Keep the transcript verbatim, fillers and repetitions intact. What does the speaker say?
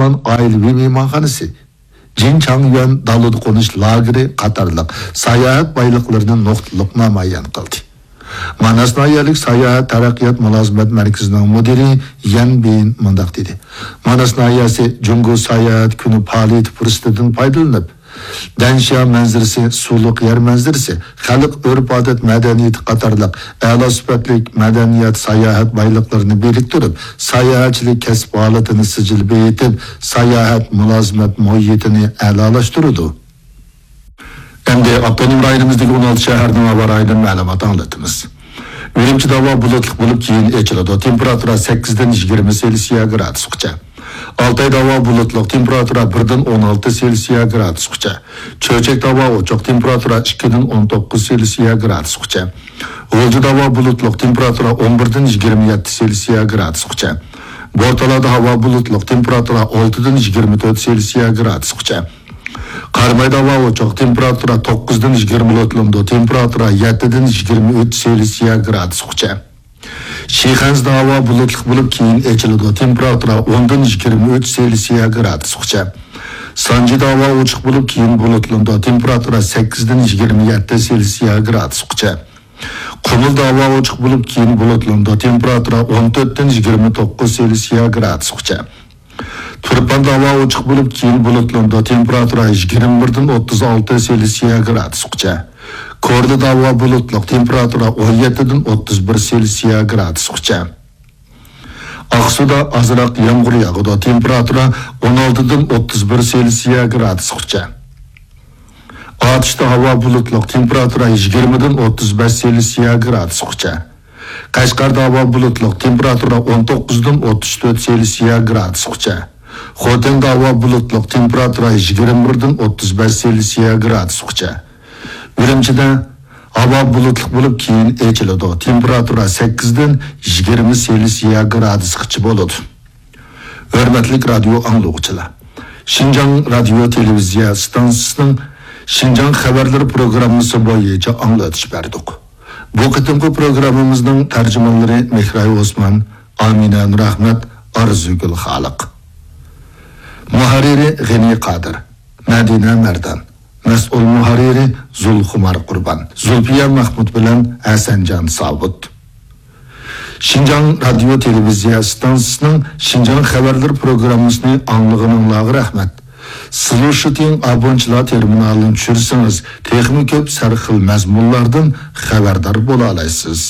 ئوسمان ئائىلىۋى مېھمانخانىسى، جىنچاڭيۈەن دالىدا قونۇش لاگېرى قاتارلىق ساياھەت بايلىقلىرىنى نۇقتىلىق نامايان قىلدى. ماناس ناھىيەلىك ساياھەت تەرەققىيات مۇلازىمەت مەركىزىنىڭ مۇدىرى يەن بىن مۇنداق دېدى: ماناس ناھىيەسى جۇڭگو ساياھەت كۈنى پائالىيىتى پۇرسىتىدىن پايدىلىنىپ، دەنشيا مەنزىرىسى، سۇلۇق يەر مەنزىرىسى، خەلق ئۆرپ-ئادەت مەدەنىيىتى قاتارلىق ئەلا سۈپەتلىك مەدەنىيەت، ساياھەت بايلىقلىرىنى بىرىكتۈرۈپ، ساياھەتچىلىك كەسىپ ھالىتىنى سىجىل بېيىتىپ، ساياھەت مۇلازىمەت مۇھىتىنى ئەلالاشتۇرىدۇ. ئەمدى ئاپتونوم رايونىمىزدىكى ئون ئالتە شەھەرنىڭ ھاۋا رايىدىن مەلۇمات ئاڭلىتىمىز. ئۈرۈمچىدە ھاۋا بۇلۇتلۇق بولۇپ، كېيىن ئېچىلىدۇ. تېمپېراتۇرا سەككىزدىن يىگىرمە سېلسىيە گرادۇسقىچە. ئالتايدا ھاۋا بۇلۇتلۇق، تېمپېراتۇرا بىردىن ئون ئالتە سېلسىيە گرادۇسقىچە. چۆچەكتە ھاۋا ئوچۇق، تېمپېراتۇرا ئىككىدىن ئون توققۇز سېلسىيە گرادۇسقىچە. غۇلجىدا ھاۋا بۇلۇتلۇق، تېمپېراتۇرا ئون بىردىن يىگىرمە يەتتە سېلسىيە گرادۇسقىچە. بورتالادا ھاۋا بۇلۇتلۇق، تېمپېراتۇرا ئالتىدىن يىگىرمە تۆت سېلسىيە گرادۇسقىچە. قارامايدا ھاۋا ئوچۇق، تېمپېراتۇرا توققۇزدىن يىگىرمە تۆت، تېمپېراتۇرا يەتتىدىن يىگىرمە ئۈچ سېلسىيە گرادۇسقىچە. شىخەنزىدە ھاۋا بۇلۇتلۇق بولۇپ، كېيىن ئېچىلىدۇ، تېمپېراتۇرا ئوندىن يىگىرمە ئۈچ سېلسىيە گرادۇسقىچە. سانجىدا ھاۋا ئوچۇق بولۇپ، كېيىن بۇلۇتلىنىدۇ، تېمپېراتۇرا سەككىزدىن يىگىرمە يەتتە سېلسىيە گرادۇسقىچە. قۇمۇلدا ھاۋا ئوچۇق بولۇپ، كېيىن بۇلۇتلىنىدۇ، تېمپېراتۇرا ئون تۆتتىن يىگىرمە توققۇز سېلسىيە گرادۇسقىچە. تۇرپاندا ھاۋا ئوچۇق بولۇپ، كېيىن بۇلۇتلىنىدۇ، تېمپېراتۇرا يىگىرمە بىردىن ئوتتۇز ئالتە سېلسىيە گرادۇسقىچە. كورلىدا ھاۋا بۇلۇتلۇق، تېمپېراتۇرا ئون يەتتىدىن ئوتتۇز بىر سېلسىيە گرادۇسقىچە. ئاقسۇدا ئازراق يامغۇر ياغىدۇ، تېمپېراتۇرا ئون ئالتىدىن ئوتتۇز بىر سېلسىيە گرادۇسقىچە. ئاتۇشتا ھاۋا بۇلۇتلۇق، تېمپېراتۇرا يىگىرمىدىن ئوتتۇز بەش سېلسىيە گرادۇسقىچە. قەشقەردە ھاۋا بۇلۇتلۇق، تېمپېراتۇرا ئون توققۇزدىن ئوتتۇز تۆت سېلسىيە گرادۇسقىچە. خوتەندە ھاۋا بۇلۇتلۇق، تېمپېراتۇرا يىگىرمە بىردىن ئوتتۇز بەش سېلسىيە گرادۇسقىچە. ئۈرۈمچىدە ھاۋا بۇلۇتلۇق بولۇپ، كېيىن ئېچىلىدۇ، تېمپېراتۇرا سەككىزدىن يىگىرمە سېلسىيە گرادۇسقىچە بولىدۇ. ھۆرمەتلىك رادىيو ئاڭلىغۇچىلار! شىنجاڭ رادىيو تېلېۋىزىيە ئىستانسىسىنىڭ شىنجاڭ خەۋەرلىرى پروگراممىسى بويىچە ئاڭلىتىش بەردۇق. بۇ قېتىمقى پروگراممىمىزنىڭ تەرجىمانلىرى مېھراي ئوسمان، ئامىنە نۇرئەخمەت، ئارزۇگۈل خالىق. مۇھەررىرى غېنى قادىر، مەدىنە مەردان. مەسئۇل مۇھەررىرى زۇلخۇمار قۇربان، زۇلپىيە مەخمۇت بىلەن ھەسەنجان سابىت. شىنجاڭ رادىيو تېلېۋىزىيە ئىستانسىسىنىڭ شىنجاڭ خەۋەرلىرى پروگراممىسىنى ئاڭلىغىنىڭلارغا رەھمەت. سلۇشىتىڭ ئابونچىلار تېرمىنالىنى چۈشۈرسىڭىز، تېخىمۇ كۆپ سەرخىل مەزمۇنلاردىن خەۋەردار بولالايسىز.